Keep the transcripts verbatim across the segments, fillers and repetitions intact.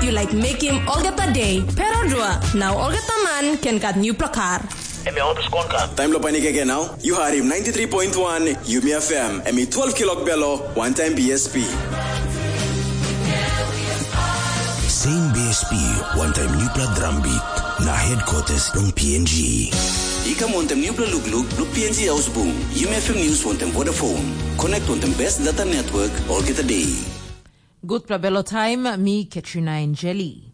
Yu laik mekim olgeta dei, pero dua, na olgeta man ken gat nupela kar. Em ya olpes kon kam. Taim lo panik ege nau, yu harim ninety-three point one Yumi F M, em i twelve kilok belo, one time B S P. Same B S P, one time nupela drum beat, na headquarters long P N G. I kam wantem nupela lukluk lo P N G Ausbung, Yumi F M News wantem Vodafone. Connect wantem best data network, olgeta day. Gutpela belo taim, mi Katrina Enjeli.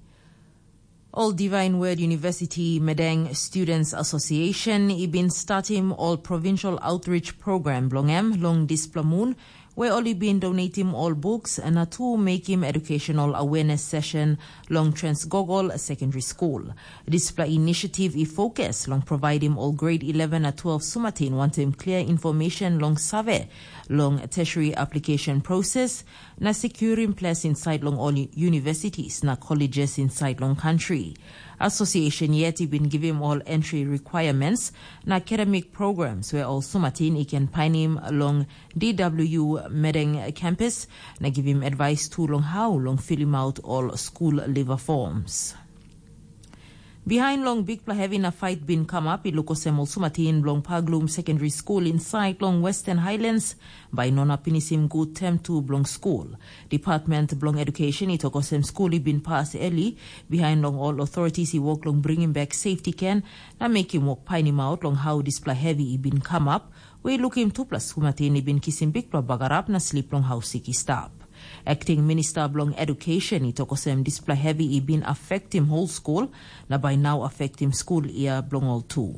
Ol Divine Word University Medeng Students Association i bin statim ol provincial outreach program bilong em long dispela mun, we ol i bin donatim ol books na tu mekim educational awareness session long Transgogol Secondary School. Dispela initiative i focus long providing ol grade eleven na twelve sumatin wantim clear information long save long tertiary application process, na securim ples inside long ol universities na colleges inside long country. Association yet i bin givim ol entry requirements na academic programs where ol sumatin i can painim long D W Medeng campus, na givim advice tu long how long filim out ol school leaver forms. Behind long bikpela heavy na fight bin come up, i luk olsem ol sumatin bilong Paglum Secondary School inside long Western Highlands, bai no na pinisim gut term tu bilong school. Department bilong Education i tok olsem school i bin pas early, behind long all authorities i work long bringing back safety can, na mekim work painim out long how dispela heavy i bin come up, we lukim tupela sumatin i bin kisim bikpela bagarap na slip long hausik i stap. Acting Minister bilong Education i tok olsem dispela heavy i bin affectim whole school, na by now affectim school year bilong ol tu.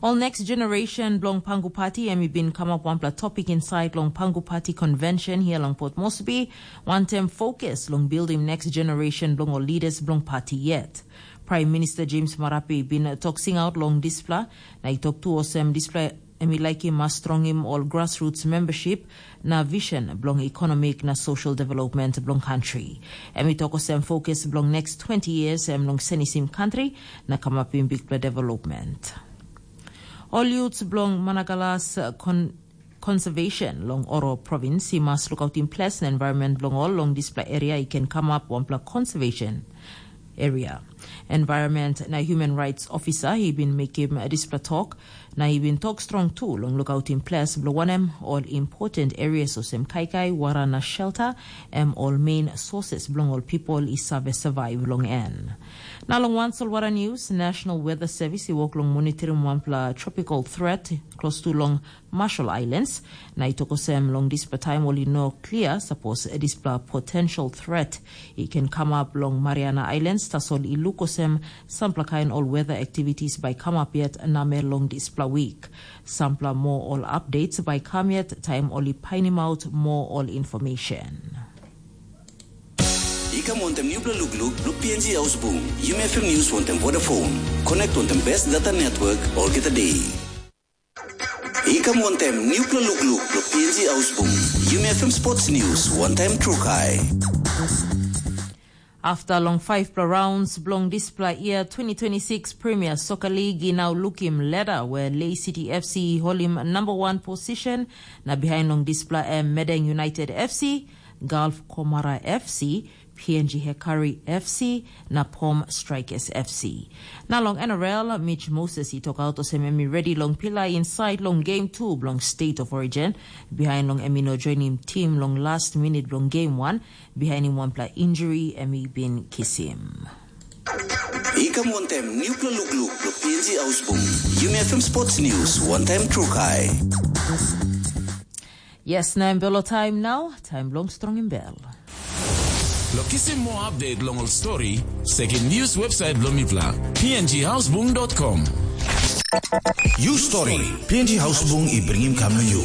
Ol next generation bilong Pangu Party em i bin kamap wanpela topic inside long Pangu Party Convention here long Port Moresby, wantam focus long building next generation bilong ol leaders bilong party yet. Prime Minister James Marape i bin tok singaut long dispela, na i tok tu olsem dispela em i laikim mas strongim ol grassroots membership na vision bilong economic na social development bilong country. Em i tok olsem focus bilong next twenty years em long senisim country na kamapim bikpela development. Ol youths bilong Managalas uh, con Conservation long Oro Province i mas lukautim ples na environment bilong ol long dispela area i ken kamap wanpela conservation area. Environment na Human Rights Officer i bin mekim dispela tok, na i bin tok strong tu long lukautim ples bilong wanem ol important areas olsem kaikai, wara na shelter, em ol main sources bilong ol people i save survive long en. Na long wan solwara news, National Weather Service i work long monitoring wanpela tropical threat close to long Marshall Islands, na i tok olsem long dispela taim ol i no klia sapos dispela potential threat i ken kamap long Mariana Islands, tasol i luk olsem sampela kain ol weather activities bai kamap yet namel long dispela wik. Sampela moa ol updates bai kam yet taim ol i painimaut moa ol information. I kam wantem nupela lukluk bilong P N G Ausbung, Yumi F M News wantem Vodafone. Connect wantem best data network olgeta day. I kam wantem nupela lukluk bilong P N G Ausbung, Yumi F M Sports News wantem Trukai. Afta long faipela rounds bilong dispela year twenty twenty-six Premier Soccer League i nau lukim leda where Lay City F C i holim number one position, na behind long dispela em Medeng United F C, Gulf Komara F C, P N G Hekari F C, na Pom Strikers F C. Na long N R L, Mitch Moses i tokaut olsem em i redi long pilai inside long game two bilong State of Origin, behind long em i no joinim tim long last minute bilong game one, bihainim wanpela injuri em i bin kisim. I kam wantem nupela lukluk lo P N G Ausbung. Yumi F M Sports News, one time Trukai. Yes, na em belo time now, time long strong em bell. Lo kisim more update long ol story, sekim news website bilong mipela, P N G Ausbung dot com. You story, P N G Ausbung i bringim kam lo you.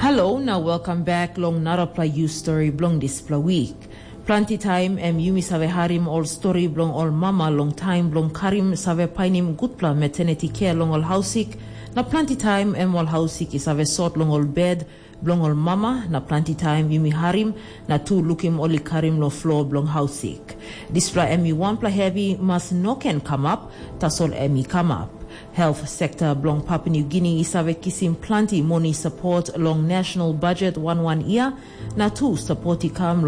Hello, now welcome back long narapela you story bilong dispela week. Planti taim em yumi save harim ol stori bilong ol mama long taim bilong karim save painim gutpela maternity care long ol hausik, na planti taim em ol hausik i save sot long ol bed bilong ol mama, na planti taim yumi harim na tu lukim ol i karim long flo bilong hausik. Dispela em i wanpela hevi mas no ken kamap, tasol em i kamap. Health sekta bilong Papua New Guinea i save kisim planti moni sapot long national budget wan wan yia, na tu sapot i kam long